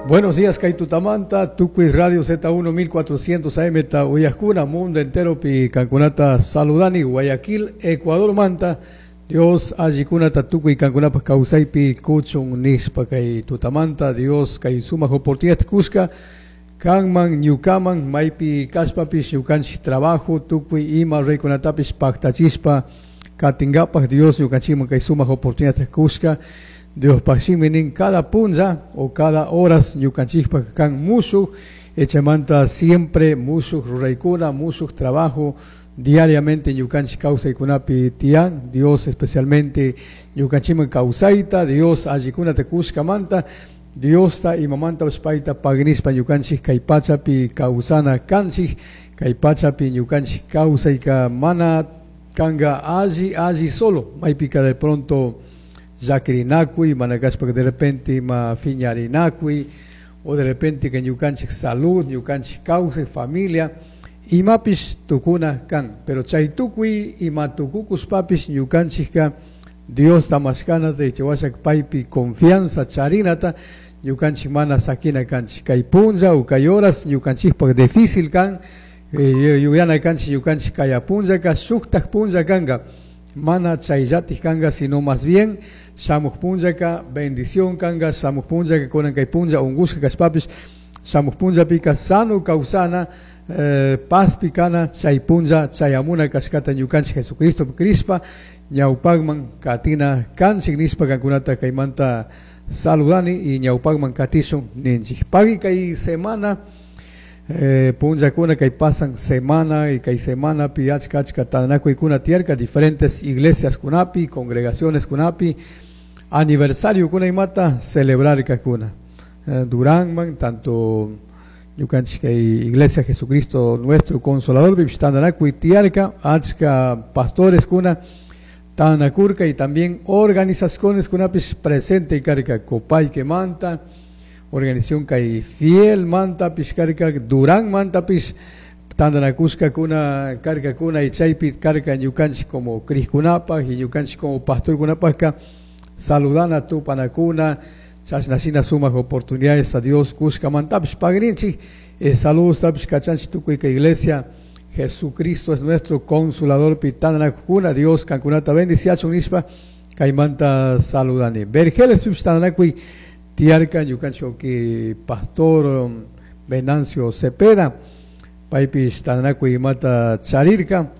Buenos días, kay tutamanta, Tukuy Radio Z1 1400 AM ta uyajkuna, mundo entero pi kankunata saludani, Guayaquil, Ecuador manta, Dios allikunata tukuy kankunapaj kawsaypi kuchun nishpa kay tutamanta, Dios kay sumak oportunidad kushka, kanman ñukaman maypi kashpapish ñukanchik trabajo tukuy ima ruraykunatapish paktachishpa katinkapak Dios ñukanchikman kay sumak oportunidad kushka. Diospaj shimi nin cada punlla o cada horas ñukanchikpak kan mushuk echamanta siempre mushuk ruraykuna mushuk trabajo diariamente ñukanchik kawsaykunapi tiyan. Dios especialmente ñukanchikman kawsayta Dios allikunata kushkamanta Diosta imamantapish payta pagnishpa ñukanchik kay pachapi kawsana kanchik kay pachapi ñukanchik kawsayka mana kanka alli alli solo. Maypika de pronto llakirinakuy mana kashpaka de repente ima phiñarinakuy o de repente que ñukanchik salud ñukanchik kawsay familia imapish tukuna kan. Pero chay tukuy ima tukukushpapish ñukanchikka Diosta mashkanata ichawashak paypi confianza charinata ñukanchik mana sakina kanchik. Kay punlla o kay horas ñukanchikpak difícil kan yuyana kanchik ñukanchik kaya punllaka shuktak punlla kanka. Mana chayllatik kanka sino más bien shamuq punllaka bendición kanka shamuq punllaka kunan kay punlla unkushka kashpapish shamuq punllapika sano kawsana pazpi kana chay punlla chayamuna kashkata ñukanchik Jesucristo crishpa ñawpakman katina kanchik nishpa kankunata kaymanta saludani y ñawpakman katishun ninchik. Pagui kay semana punllakuna kay pasan semana y kay semanapi achka achka tantanakuykuna tiyarka diferentes iglesias kunapi congregaciones kunapi aniversario kuna imata celebrarkakuna Duranman tanto ñukanchik kay Iglesia Jesucristo Nuestro Consolador pipish tantanakuy tiyarka achka pastores kuna tantanakurka y también organizaciones kunapish presente karka Copaique manta organización kay Fiel manta pish karka Durán manta pish tantanakushkakuna karkakuna y chaypi karka ñukanchik como crijkunapaj y ñukanchik como pastorkunapajka saludana tupanakuna chashna shina sumak oportunidades a Dios kushkamantapish pagrinchik saludos tapish kachanchik tukuy kay iglesia Jesucristo es nuestro consolador pi tantanakukuna Dios kankunata bendiciachun nishpa kaymanta saludani. Vergeles pipish tantanakuy tiyarka ñukanchik pastor Venancio Cepeda paypish tantanakuy imata charirka.